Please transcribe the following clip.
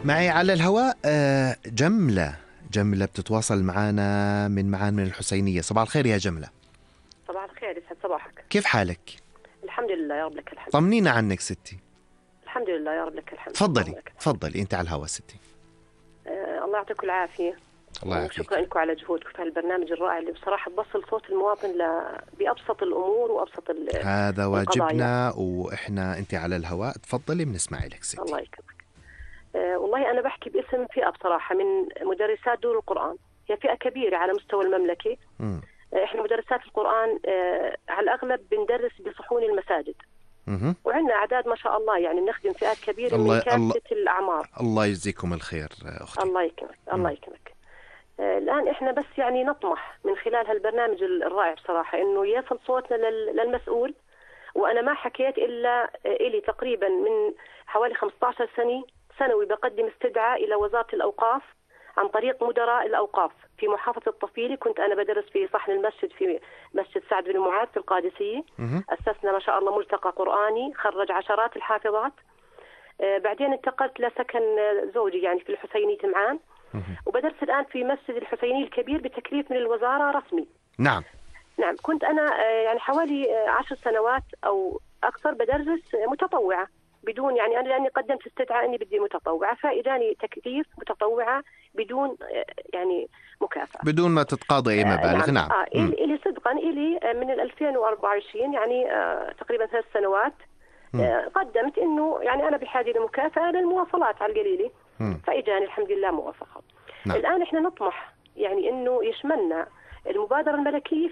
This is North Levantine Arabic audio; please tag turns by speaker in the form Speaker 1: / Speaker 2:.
Speaker 1: معي على الهواء جملة بتتواصل معنا من معان من الحسينية. صباح الخير يا جملة.
Speaker 2: صباح الخير، يسعد صباحك.
Speaker 1: كيف حالك؟
Speaker 2: الحمد لله يا رب لك الحمد.
Speaker 1: طمنينا عنك ستي.
Speaker 2: الحمد لله يا رب لك الحمد.
Speaker 1: تفضلي انت على الهواء ستي.
Speaker 2: الله يعطيكم العافية.
Speaker 1: الله يعافيك.
Speaker 2: شكرا لكم على جهودكم في هالبرنامج الرائع اللي بصراحة بوصل صوت المواطن بأبسط الأمور وأبسط
Speaker 1: هذا واجبنا وإحنا أنت على الهواء. تفضلي بنسمع لك ستي.
Speaker 2: الله يكرمك. والله أنا بحكي باسم فئة بصراحة من مدرسات دور القرآن. هي فئة كبيرة على مستوى المملكة. إحنا مدرسات القرآن على الأغلب بندرس بصحون المساجد. وعندنا أعداد ما شاء الله، يعني بنخدم فئات كبيرة من كافة الأعمار.
Speaker 1: الله يجزيكم الخير أختي.
Speaker 2: الله يكرمك. الله يكرمك. الآن إحنا بس يعني نطمح من خلال هالبرنامج الرائع بصراحة إنه يصل صوتنا للمسؤول. وأنا ما حكيت إلا إلي تقريبا من حوالي 15 سنة سنوي بقدم استدعاء إلى وزارة الأوقاف عن طريق مدراء الأوقاف في محافظة الطفيلة. كنت أنا بدرس في صحن المسجد في مسجد سعد بن معاذ في القادسية. أسسنا ما شاء الله ملتقى قرآني خرج عشرات الحافظات. بعدين انتقلت لسكن زوجي يعني في الحسينية معان، وبدرس الآن في مسجد الحسيني الكبير بتكليف من الوزارة رسمي.
Speaker 1: نعم.
Speaker 2: كنت أنا يعني حوالي 10 سنوات أو أكثر بدرس متطوعة بدون يعني أنا لأني قدمت استدعاء إني بدي متطوعة، فإجاني تكليف متطوعة بدون يعني مكافأة،
Speaker 1: بدون ما تتقاضى أي مبالغ. نعم.
Speaker 2: إلي صدقا إلي من 2024 يعني تقريبا 3 سنوات قدمت إنه يعني أنا بحاجة لمكافأة للمواصلات على القليلة، فإجاني الحمد لله موافقة.
Speaker 1: نعم.
Speaker 2: الآن إحنا نطمح يعني إنه يشملنا المبادرة الملكية